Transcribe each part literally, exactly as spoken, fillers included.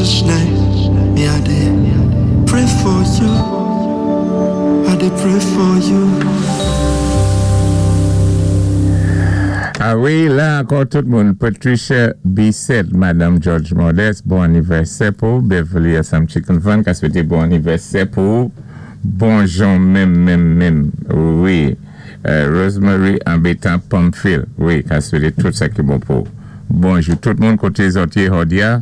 Each night, me I dey pray for you. I dey pray for you. Ah wi, la ankò tout moun. Patricia Bissett, Madame George Modeste, bon anivèsè pou Beverly Assam Chicken Van, ka swété bon anivèsè pou bonjou menm, menm, menm. Wi. Euh, Rosemary Ambetan Pamphile, wi, ka swété tout sa ki bon pou. Bonjou tout moun koté zòt yé jòdi-a,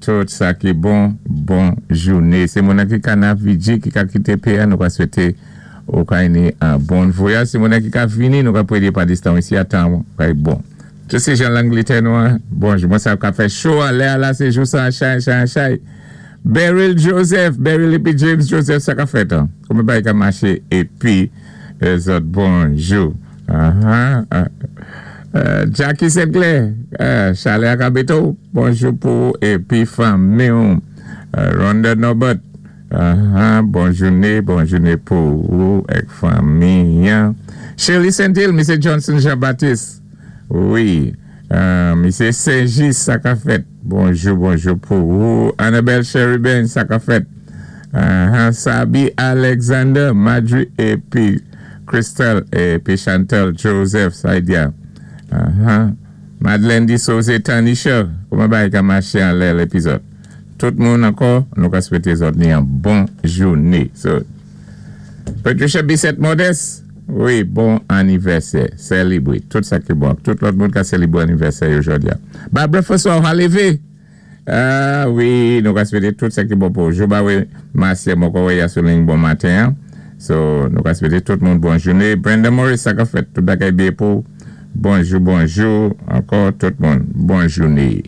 tout sa ki bon, bon jouné. Sé moun ki ka navigé, ki ka kité péyi-a, nou ka swété ou ka ni an bon vwayaj. Sé moun ki ka vini, nou ka prédé pa distan isi a tan, kay bon. Tout sé jan Langlétè nou, an. Bonjou, mwen sa ka fè cho an lè la, sé jou sa, chay, chay, chay. Beryl Joseph, Beryl épi James Joseph, sa ka fèt, an. Kouman bagay ka maché, épi, zòt, bonjou. Uh-huh. Uh, uh, Jackie Sinclair, uh, Chalè Akabeto, bonjou pou épi fanmi. Uh, Rhonda Norbert, uh-huh. Bon jouné, bon jouné pou ou ak fanmi. Shirley Saint-Hill, Misé Johnson Jean-Baptiste. Wi, uh, Misé Saint-Gis, sa ka fèt. Bonjou, bonjou pou ou. Annabelle Sheridan, sa ka fèt. Uh-huh. Sabi Alexander, Madri épi Crystal épi Chantal Joseph, Saidia. Uh-huh. Madeleine Dissose Tanisha, kouman bagay ka maché an lè lépizòd. Tout moun ankò, nou ka swété zòt ni an bon jouné. So, Patricia Bissett Modeste, wi, bon anivèsè. Sélébré. Tout sa ki bon. Tout lòt moun ka sélébré anivèsè jòdi-a. Barbara François Halevé. Ah wi, nou ka swété tout sa ki bon pou. Jouba wi, Marcia Moko Yasoling, bon maten. So, nou ka swété tout moun bon jouné. Brenda Morris, sa ka fèt. Tout bagay byen pou. Bonjou, bonjou. Ankò tout moun. Bon jouné.